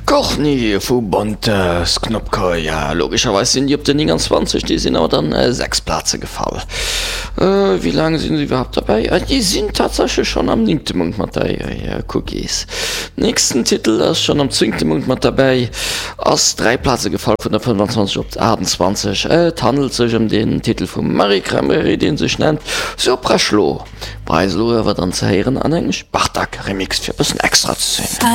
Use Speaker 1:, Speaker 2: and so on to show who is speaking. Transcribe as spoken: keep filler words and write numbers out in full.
Speaker 1: Korni vu Bonte Knopka ja logescherweis sinn déi op der nénganzwanzeg, déi sinn awer dann äh, sechs Plaze gefall. Äh, wéi laang sinn se iwwerhaapt derbäi? Äh, déi sinn tatsächlech schonn am néngte Mount mat derbäi ja, Cookies. Nächsten Titel ass schonn am zéngte Mount mat derbäi ass dräi Plaze gefall vun der fënnefanzwanzeg op aachtanzwanzeg. Äh, et handelt sech ëm den Titel vum Marie Cranberry, deen sech nennt Sopraschlo. Bei eis elo awer dann ze héieren an engem Spartak Remix fir e bëssen extra ze sinn.